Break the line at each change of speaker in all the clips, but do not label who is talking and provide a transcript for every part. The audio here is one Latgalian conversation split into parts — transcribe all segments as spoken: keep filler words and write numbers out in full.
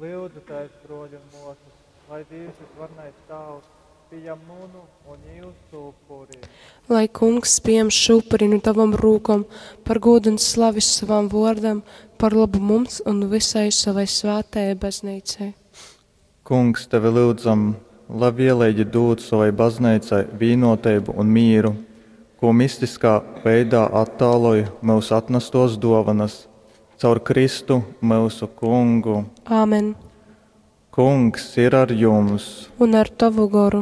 Lyudzu tēs, bruoļi un muosys, lai Dīvs Vysvarenais Tāvs pījam munu un jūsu upuri.
Lai Kungs pieņem šo upuri no tavam rūkom par godu un slavi savam vārdam, par labu mums un visai savai svētajai baznīcai.
Kungs, tevi lyudzam, labvieleigi dūd sovai bazneicai vīnuoteibu un mīru, kū mistiskā veidā attāloj myusu atnastuos duovanys. Caur Kristu myusu Kungu.
Āmen.
Kungs ir ar jums!
Un ar tavu goru.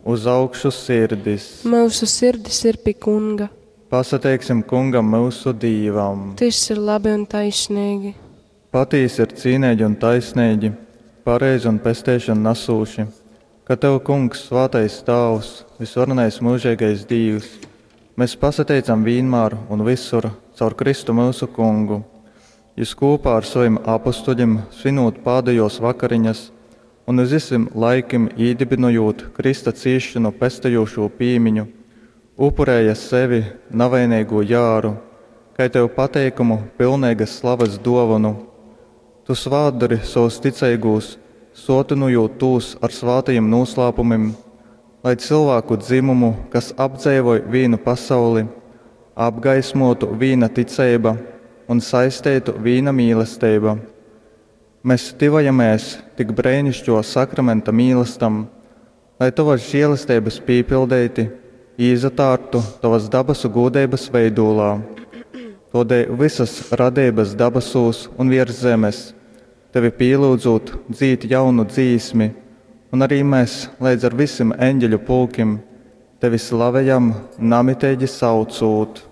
Uz augšu sirdis!
Myusu sirdis ir pi Kunga.
Pasateiksim Kungam myusu Dīvam!
Tys ir labi un taisnīgi.
Patīsi ir cīneigi un taisneigi, pareizi un pesteišonu nasūši, ka Tev, Kungs, svātais Tāvs, vysvarenais myužeigais Dīvs, mēs pasateicam vīnmār un visur caur Kristu myusu Kungu. Jys kūpā ar sovim apustuļim svinūt pādejōs vakariņas un uz vysim laikim īdybynojūt Krysta cīsšonu pestejūšū pīmiņu, upurēja sevi, navaineigū jāru, kai Tev pateikamu pilneigas slavas dōvonu. Tu svātdori sovus ticeigūs, sōtynojūt tūs ar svātajim nūslāpumim, lai cylvāku dzymumu, kas apdzeivoj vīnu pasauli, apgaismōtu vīna ticeiba un saisteitu vīna mīlesteiba. Mes tyvojamēs tik breiniškō sakramenta mīlastam, lai tovas žēlesteibas pīpildeiti īsatārptu tovas dabasu gūdeibas veidūlā. Tōdēļ vysas radeibas dabasūs un viers zemes, tevi pīlyudzūt, dzīd jaunu dzīsmi, un arī mēs leidz ar vysim eņģeļu pulkim tevi slavejam, namiteigi saucūt.